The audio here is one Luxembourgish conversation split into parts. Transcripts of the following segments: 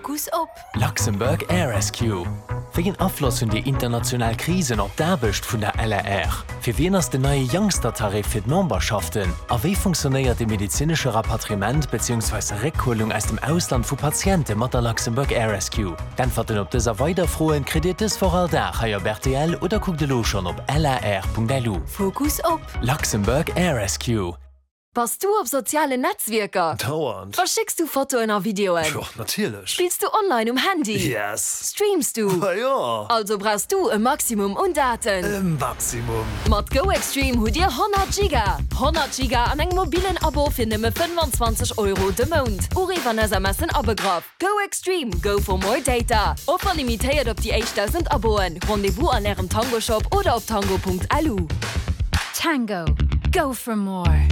Fokus op. Luxembourg Air Rescue, Wéi en Afloss hunn déi international Krisen op d'Aarbecht vun der LAR? Fir wien ass den neie Youngster-Tarif fir d'Memberschaften? A wéi funktionéiert de medezinesche Rapatriement beziehungsweise Réckhuelung aus dem Ausland vu Patiente mat der Luxembourg Air Rescue? D'Äntwerten op dës a weider Froen kritt Dir dës Woch all Dag hei op rtl oder kuckt elo schonn op lar.lu. Fokus op. Luxembourg Air Rescue. Bass du op sozialen Netzwierker? Dauernd. Verschécks du Fotoen a Videoen? Jo, natierlech. Spills du online um Handy? Yes. Streams du? Ma jo. Also brauchs du e Maximum un Daten. E Maximum. Mat GoExtreme hutt dir 100 Giga! 100 Giga an engem mobillen Abo fir nëmme 25 Euro de Mount. Uriff an SMSen abegraff. Go Extreme, go for more data! Offer limitéiert op déi éischt 1.000 Aboen. Rendez-vous an ärem Tango Shop oder op tango.lu. Tango, go for more!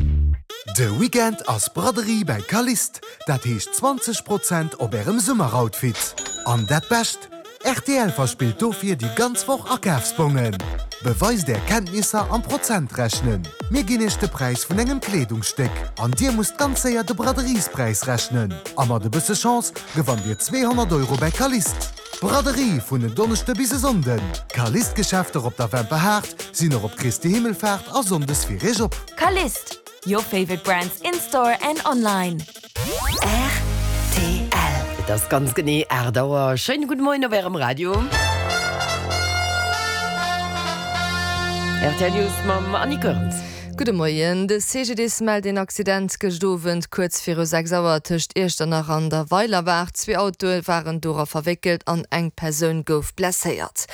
De Weekend ass Braderie bäi Calliste, dat heescht 20 Prozent op ärem Summeroutfit. An dat Bescht, Rtl verspillt dofir déi ganz Woch Akafsbongen. Beweist är Kenntnisser am Prozentrechnen. Mir ginn iech de Präis vun engem Kleedungsstéck an dir musst ganz séier de Braderiespräis rechnen. A mat e bësse Chance gewannt dir 200 Euro bäi Calliste. Braderie vun en Donneschde bis e Sonnden. Calliste-Geschäfter op der Wämper Haard sinn och op Christi Himmelfaart a Sonndes fir iech op. Calliste, your favorite brands in store and online. Rtl. Et ass ganz genee 8 Auer. Schéine gudde Moien op Ärem Radio. Rtl News mam Annie Goerens. Gudde Moien. De CGDIS mellt een Accident gëscht Owend kuerz viru 6 Auer tëscht Iechternach an der Weilerbaach. Zwee Autoe waren dora verwéckelt an eng Persoun gouf blesséiert.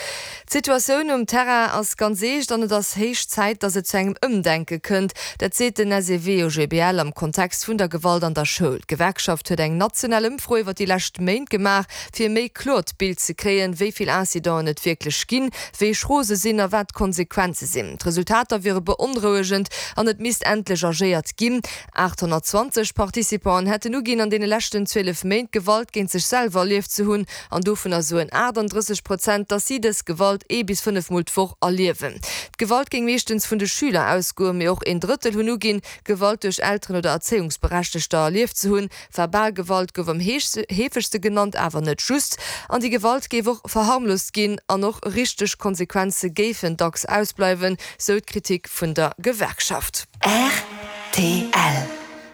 D'Situatioun um Terrain ass ganz eescht an et ass héich Zäit, datt et zu engem Ëmdenke kënnt. Dat seet den SEW-OGBL am Kontext vun der Gewalt an der Schoul. D'Gewerkschaft huet eng national Ëmfro iwwer déi lescht Méint gemaach, fir e méi kloert Bild ze kréien, wéi vill Incidenten et wierklech ginn, wéi schro se sinn a wat d'Konsequenze sinn. D'Resultater wiere beonrouegend an et misst endlech agéiert ginn. 820 Participanten hätten uginn, an deene leschten 12 Méint Gewalt géint sech selwer erlieft ze hunn, an dovunner soen 38 Prozent, datt si dës Gewalt ee bis 5 Mol d'Woch erliewen. D'Gewalt géing meeschtens vun de Schüler ausgoen, mee och een Drëttel hunn uginn, Gewalt duerch Elteren oder Erzéiungsberechtegter erlieft ze hunn. Verbal Gewalt gouf am heefegste genannt, awer net just. An déi Gewalt géif och verharmlost ginn an och richteg Konsequenze géifen dacks ausbleiwen, sou d'Kritik vun der Gewerkschaft. Rtl.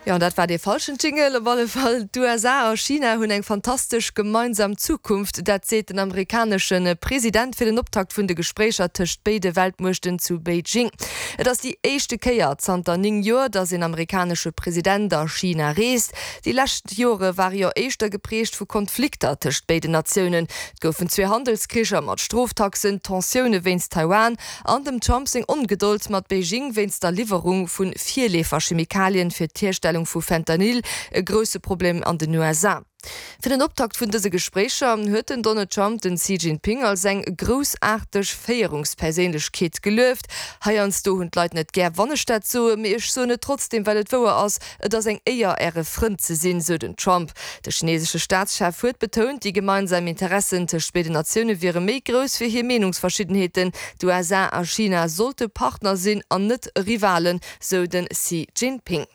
Jo, dat war dee falschen Jingle. Op alle Fall, d'USA a China hunn eng fantastesch gemeinsam Zukunft. Dat seet den amerikanesche President fir den Optakt vun de Gespréicher tëscht béide Weltmuechten zu Beijing. Et ass déi éischte Kéier zanter 9 Joer, datt een amerikanesche President a China reest. Déi lescht Jore ware jo éischter geprägt vu Konflikter tëscht béiden Natiounen. Et goufen zwee Handelskricher mat Stroftaxen, Tensioune wéinst Taiwan An dem Trump seng Ongedold mat Beijing wéinst der Liwwerung vu Virleefer-Chemikalien fir d'Hierstellung vu Fentanyl, e grousse Problem an den USA. Fir den Optakt vun dëse Gespréicher huet den Donald Trump den Xi Jinping als eng groussaarteg Féierungsperséinlechkeet gelueft. Heiansdo hunn d'Leit net gär, wann ech dat soen, mee ech soen et trotzdeem, well et wouer ass, Et ass eng Éier, Äre Frënd ze sinn, sou den Trump. De chinesesche Staatschef huet betount, déi gemeinsam Interessen tëscht béiden Natioune wiere méi grouss wéi hir Meenungsverschiddenheeten. D'USA a China sollte Partner sinn an net Rivalen, sou de Xi Jinping.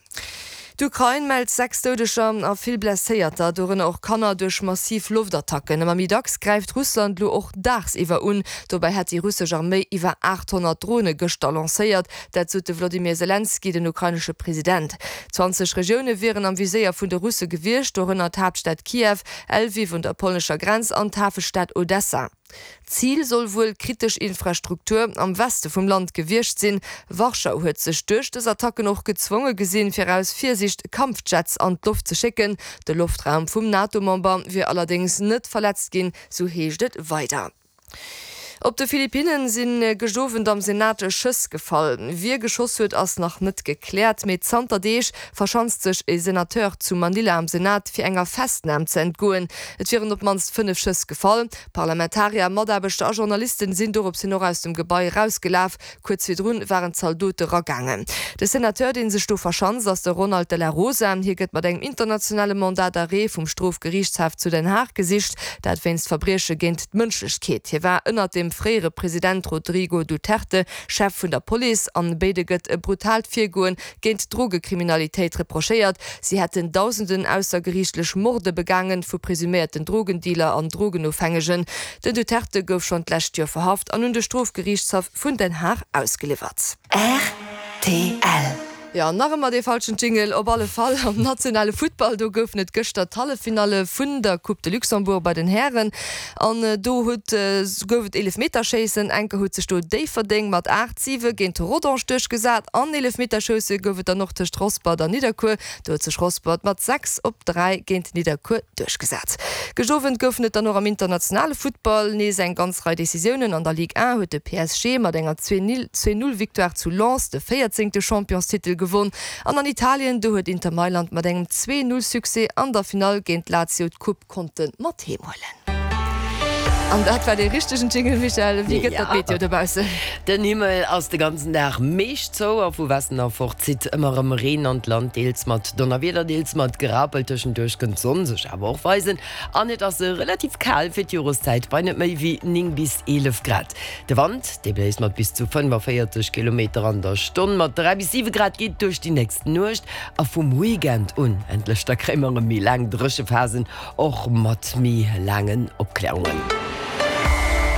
D'Ukrain mellt 6 Doudeger a vill Blesséierter, dorënner och Kanner, duerch massiv Loftattacken. Ëmmer méi dacks gräift Russland elo och daagsiwwer un. Dobäi hätt déi russesch Arméi iwwer 800 Drone gëschter lancéiert. Dat sot de Wlodimir Selenskyj, den ukrainesche President. 20 Regioune wieren am Viséier vun de Russe gewiescht, dorënner d'Haaptstad Kiew, Lwiw un der polnescher Grenz an d'Hafestad Odessa. Zil soll wuel kritesch Infrastruktur am Weste vum Land gewiescht sinn. Warschau huet sech duerch dës Attacken och gezwonge gesinn, fir aus Virsiicht Kampfjets an d'Loft ze schécken. De Loftraum vum NATO-Member wier allerdéngs net verletzt ginn, sou heescht et weider. Op de Philippinnen si gëscht Owend am Senat Schëss gefall. Wie geschoss huet, ass nach net gekläert, mee zanter Deeg verschanzt sech e Senateur zu Manila am Senat, fir enger Festnam ze entgoen. Et wieren op d'mannst 5 Schëss gefall. Parlamentarier, Mataarbechter a Journalisten sinn dorops hin och aus dem Gebai erausgelaf. Kuerz virdrun waren Zaldote ragaangen. De Senateur, dee sech do verschanzt, ass de Ronald de la Rosa. Hie gëtt mat engem internationale Mandat d'arrêt vum Strofgeriichtshaf zu Den Haag gesicht, dat wéinst Verbrieche géint d'Mënschlechkeet. Hie war ënnert dem. dem fréiere President Rodrigo Duterte, Chef vun der Police. An béide gëtt e brutaalt Virgoen géint d'Drogekriminalitéit reprochéiert. Si hätten dausenden aussergeriichtlech Morde begaangen, vu presuméierten Drogendealer an Drogenofhängegen. Den Duterte gouf schonn d'lescht Joer verhaft an un de Strofgeriichtshaff vun Den Haag ausgeliwwert. Rtl. Jo, nach ëmmer dee falschen Jingle. Op alle Fall am nationale Futtball, do goufen et gëschter d'Halleffinalle vun der Coupe de Luxembourg bei den Hären. An do huet gouf et Eelefmeterschéissen. Enker huet sech do Déifferdeng mat 8, 7 géint Rodange duerchgesat. An Eelefmeterschousse gouf et dann och tëscht Rospert an Nidderkuer. Do huet sech Rospert mat 6 op 3 géint Nidderkuer duerchgesat. Gëscht Owend goufen et dann och am internationale Futtball nees eng ganz Rei Decisiounen. An der Ligue 1 huet de PSG mat enger 2 Null Victoire zu Lens de véierzéngte Championstitel gewonn. An an Italien, do huet Inter Mailand mat engem 2 Null Succès an der Finall géint Lazio d'Coupe konnte mat heem huelen. An dat war dee richtegen Jingle, Michèle. Wéi gëtt dat d'Meteo dobaussen? Den Himmel ass de ganzen Dag meescht zou a vu Westen erfort zitt ëmmer erëm Reen an d'Land, deels mat Donnerwieder, deels mat Gerapel. Tëschenduerch kënnt d'Sonn sech awer och weisen an et ass relativ kal fir d'Joreszäit bei net méi wéi 9 bis 11 Grad. De Wand, dee bléist mat bis zu 45 Kilometer an der Stonn. Mat 3 bis 7 Grad geet et duerch déi nächst Nuecht a vum Weekend un endlech da kréie mer erëm méi laang Dréchephasen. Och mat méi laangen Opklärungen.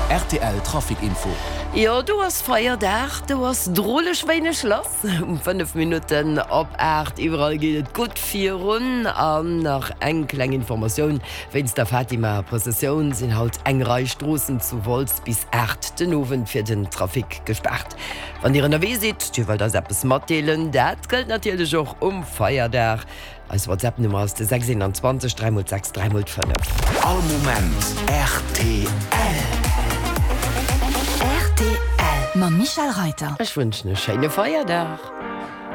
Rtl Trafic Info. Jo, do ass Feierdag, do ass droleg wéineg lass. Um 5 Minutten op 8 iwwerall geet et gutt virun. An nach eng kleng Informatioun, Wéinst der Fatima-Prëssessioun sinn haut eng Rei Stroossen zu Wolz bis 8 den Owend fir den Trafic gespaart. Wann Dir ënnerwee sidd, Dir wëllt eis eppes matdeelen, dat gëllt natierlech och um Feierdag. Eis WhatsApp Nummer ass de 6 21 3 x 6 3 x 5. All Moment rtl. Rtl mam Michèle Reiter. Ech wënschen e schéine Feierdag.